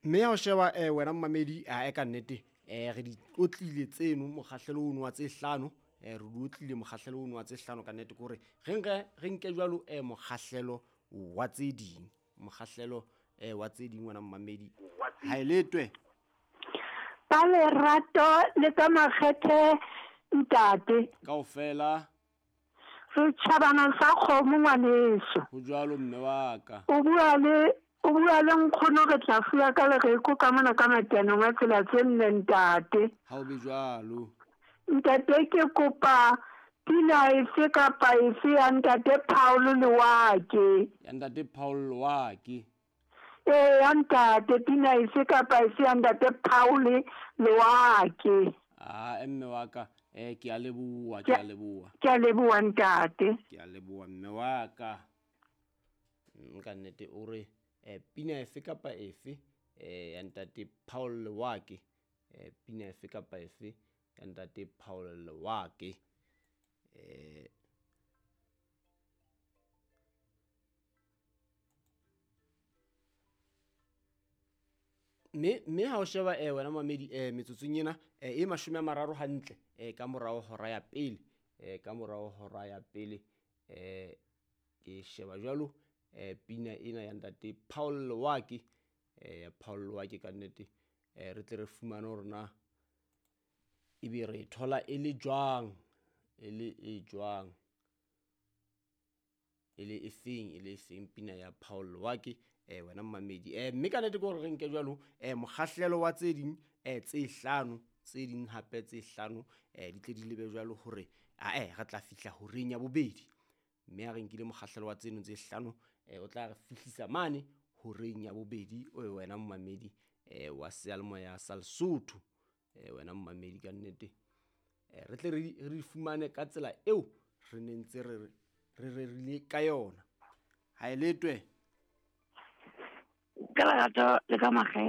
Mme ha o sheba wena momamedi, ae ka nnete re di tlotlile tseno mokgahlelo ono wa tse hlano, re di otlile mokgahlelo ono wa tse hlano ka nnete ke hore re nke re nke jwalo mokgahlelo wa tse ding, mokgahlelo wa tse ding wena momamedi. Ha e letwe. Ka lerato le ka makgethe ntate. Kaofela. Re tjhabana sa kgomo ngwaneso. Ho jwalo mme wa ka. O bua le o bua le nkgono re tla fuwa ka lereko ka mona ka matenong a tsela tse nne ntate. Ha o be jwalo. Ntate ke kopa pina efe kapa efe ya ntate Paul Lewake. Ya ntate Paul Lewake. Ee ya ntate pina efe kapa efe ya ntate Paul Lewake. Ah mme wa ka ke a leboha, ke a leboha. Ke a leboha ntate. Ke a leboha mme wa ka. Ka nnete o re pina efe kapa efe ya ntate Paul Lewake, pina efe kapa efe ya ntate Paul Lewake. Mme ha o sheba wena mamedi metsotsong ena e 30 hantle ka morao hora ya pele, ka morao hora ya pele ke sheba jwalo pina ena ya ntate Paul Lewake, ya Paul Lewake ka nnete re tle re fumane hore na ebe re thola e le jwang, e le e jwang, e le efeng pina ya Paul Lewake wena mamedi. Mme ka nnete ke hore re nke jwalo mokgahlelo wa tse ding tse hlano, tse ding hape tse hlano di tle di lebe jwalo hore ae re tla fihla horeng ya bobedi. Mme ha re nkile mokgahlelo wa tseno tse hlano o tla re fihlisa mane horeng ya bobedi wena momamedi wa seyalemoya sa Lesotho, wena momamedi ka nnete re tle re di fumane ka tsela eo re ne ntse re rerile ka yona. Ha e letwe. Ka lerato le ka makgethe.